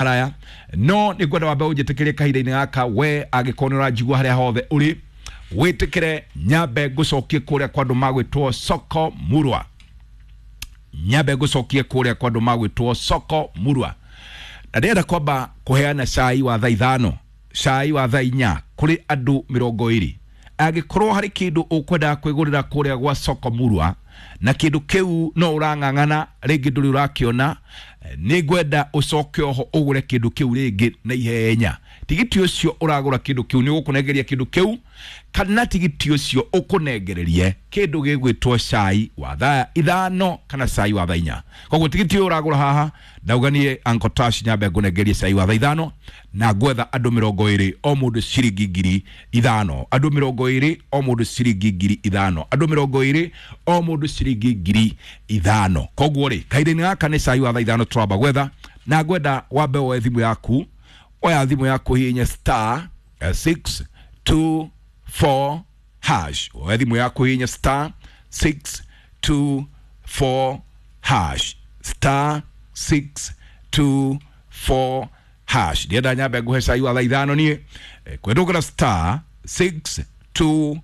Haraya no nĩ ngwenda wambe ũnjĩtĩkĩrie kahinda-inĩ gaka, we angĩkorwo nĩ ũranjigua harĩa hothe ũrĩ, wĩtĩkĩre nyambe ngũcokie kũrĩa kwa andũ magwĩtwo Soko Murwa. Nyambe ngũcokie kũrĩa kwa andũ magwĩtwo Soko Murwa, na ndĩrenda kwamba kũheana cai wa thaa 5, cai wa thaa 4 kũrĩ andũ 20. Angĩkorwo harĩ kĩndũ ũkwendaga kwĩgũrĩra kũrĩa gwa Soko Murwa na kĩndũ kĩu no ũrang'ang'ana rĩngĩ ndũrĩ ũrakĩona, nĩ ngwenda ũcoke oho ũgũre kĩndũ kĩu rĩngĩ na ihenya. Tigiti ũcio ũragũra kĩndũ kĩu nĩ ũgũkũnengeria kĩndũ kĩu, kana tigiti ũcio ũkũnengererie kĩndũ gĩgwĩtwo cai wa thaa 5 kana cai wa thaa 4. Koguo tigiti ũyũ ũragũra haha, ndauga niĩ Uncle Tash nyambe ngũnengerie cai wa thaa 5, na ngwetha andũ 20, o mũndũ ciringi 5,000. Andũ 20, o mũndũ ciringi 5,000. Andũ 20, o mũndũ ciringi 5,000. Koguo rĩ, kahinda-inĩ gaka nĩ cai wa thaa 5 tũramba gwetha, na ngwenda wambe woe thimũ yaku. Oya thimũ yaku, hihinya star 6 2 4 hash. Oya thimũ yaku, hihinya star 6 2 4 hash, star 6 2 4 hash. Ndienda nyambe nguhe cai wa thaa 5 niĩ. Kwendũgĩra star 6 2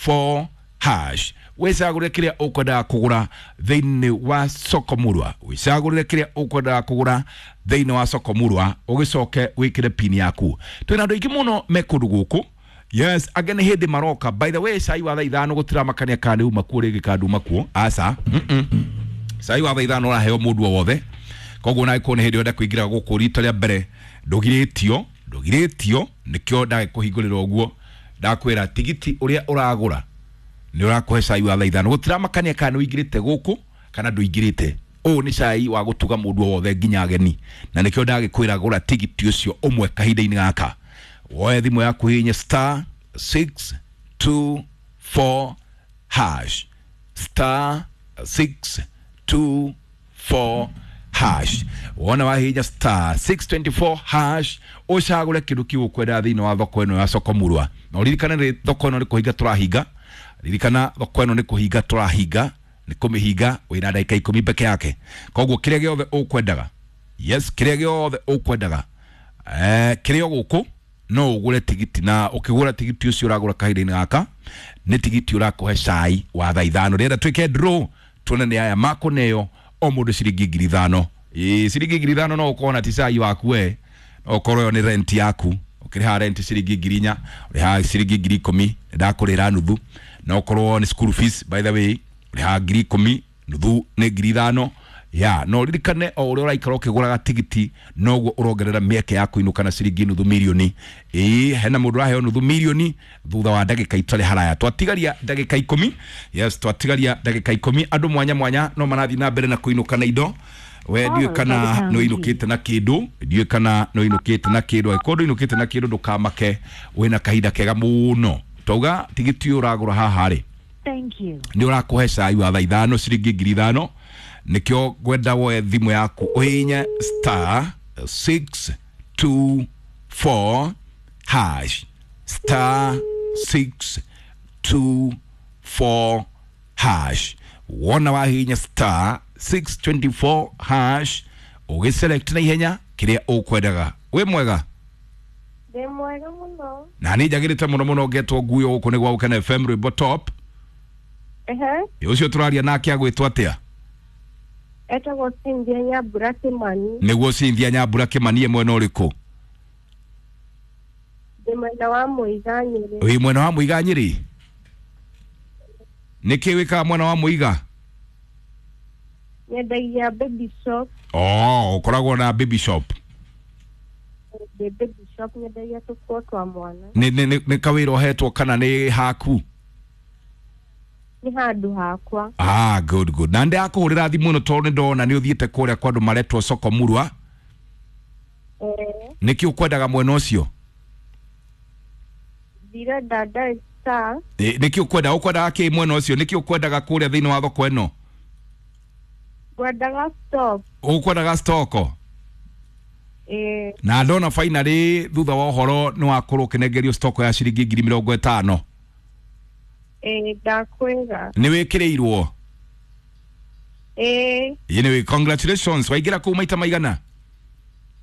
4 hash, wĩcagũrĩre kĩrĩa ũkwendaga kũgũra thĩinĩ wa Soko Murwa. Wĩcagũrĩre kĩrĩa ũkwendaga kũgũra thĩinĩ wa Soko Murwa, ũgĩcoke wĩkĩre pin yaku. Twĩna andũ aingĩ mũno me kũndũ gũkũ. Yes, angĩ nĩ hĩndĩ maroka. By the way, cai wa thaa 5 gũtiramakania kana nĩ uma kuo rĩngĩ kana nduma kuo, aca. Cai wa thaa 5 ũraheo mũndũ o wothe. Koguo na angĩkorwo nĩ hĩndĩ ũrenda kũingĩra gũkũ rita rĩa mbere, ndũgirĩtio, ndũgirĩtio. Nĩkĩo ndagĩkũhingũrĩra ũguo, ndakwĩra tigiti ũrĩa ũragũra nĩ ũrakũhe cai wa thaa 5. Gũtiramakania kana nĩ ũingĩrĩte gũkũ kana ndũingĩrĩte. Ũũ nĩ cai wa gũtuga mũndũ o wothe, nginya ageni, na nĩkĩo ndagĩkwĩra gũra tigiti ũcio ũmwe kahinda-inĩ gaka. Woe thimũ yaku, hihinya star 6 2 4 hash, star 6 2 4 hash. Wona wahihinya star 624 hash, ũcagũre kĩndũ kĩu ũkwenda thĩinĩ wa thoko ĩno ya Soko Murwa. Na ũririkane rĩ, thoko ĩno nĩ kũhinga tũrahinga. Ririkana, thoko ĩno nĩ kũhinga tũrahinga, nĩ kũmĩhinga. Wĩna ndagĩka 10 peke yake. Koguo kĩrĩa gĩothe ũkwendaga, yes, kĩrĩa gĩothe ũkwendaga, kĩrĩa gũkũ no ũgũre tigiti, na ũkĩgũra tigiti ũcio ũragũra kahinda-inĩ gaka nĩ tigiti ũrakũhe cai wa thaa 5. Rĩenda twĩke draw, tuone nĩ aya makũneo o mũndũ ciringi 5,000. Ĩĩ, ciringi 5,000 no ũkorwo na ti cai waku we, no ũkorwo ĩyo nĩ rent yaku. Ũkĩrĩha rent ciringi 4,000, ũrĩhaga ciringi 10,000, ndakũrĩra nuthu. No ũkorwo nĩ school fees, by the way, ũrĩhaga 10,000, nuthu nĩ 5,000 ya. No ririkane, o ũrĩa ũraikara ũkĩgũraga tigiti, noguo ũrongerera mĩeke ya kũinũka na ciringi nuthu mirioni. Ĩĩ, hena mũndũ ũraheo nuthu mirioni thutha wa ndagĩka itarĩ haraya. Twatigaria ndagĩka 10. Yes, twatigaria ndagĩka 10. Andũ mwanya mwanya no marathiĩ na mbere na kũinũka na indo. We ndiũĩ kana nĩ ũinũkĩte na kĩndũ, ndiũĩ kana nĩ ũinũkĩte na kĩndũ. Angĩkorwo ndũinũkĩte na kĩndũ, ndũkamake, wĩna kahinda kega mũno. Twauga tigiti ũyũ ũragũra haha rĩ, Thank you. nĩ ũrakũhe cai wa thaa 5, ciringi 5,000. Nĩkĩo ngwenda woe thimũ yaku, ũhihinye star 6 2 4 hash, star 6 2 4 hash. Wona wahihinya star 624 hash, ũgĩselect na ihenya kĩrĩa ũkwendaga. Wĩ mwega? Ndĩ mwega mũno. Na nĩ njagĩrĩte mũno mũno. Ngetwo nguyo gũkũ nĩ gwa Gũkena FM, rwĩmbo top. Ũcio tũraria nake agwĩtwo atĩa? Etagwo Cynthia Nyambura Kĩmani. Nĩguo, Cynthia Nyambura Kĩmani, mwena ũrĩkũ? Ndĩ mwena wa Mũiga, Nyĩrĩ. Wĩ mwena wa Mũiga, Nyĩrĩ. Nĩkĩ wĩkaga mwena wa Mũiga? Nyendagia baby shop. Oh, ũkoragwo na baby shop? Ndĩ baby shop, nyendagia tũkuo twa mwana. Nĩ kawĩra ũhetwo kana nĩ haku? Nĩ handũ hakwa. Ah, good, good. Na ndakũhũrĩra thimũ ĩno tondũ nĩ ndona nĩ ũthiĩte kũrĩa kwa andũ maretwo Soko Murwa. Eh. Nĩkĩ ũkwendaga mwena ũcio? Ndirenda Dar star. Nĩkĩ ũkwenda, ũkwendaga kĩ mwena ũcio? Nĩkĩ ũkwendaga kũrĩa thĩinĩ wa thoko ĩno? Ngwendaga stock. Ũkwendaga stock? Eh. Na ndona finally thutha wa ũhoro nĩ wakorwo ũkĩnengerio stock ya ciringi 50,000. Eh, ndakwĩra. Nĩ wĩkĩrĩirwo? Eh. Anyway, congratulations. Waingĩra kũu maita maigana?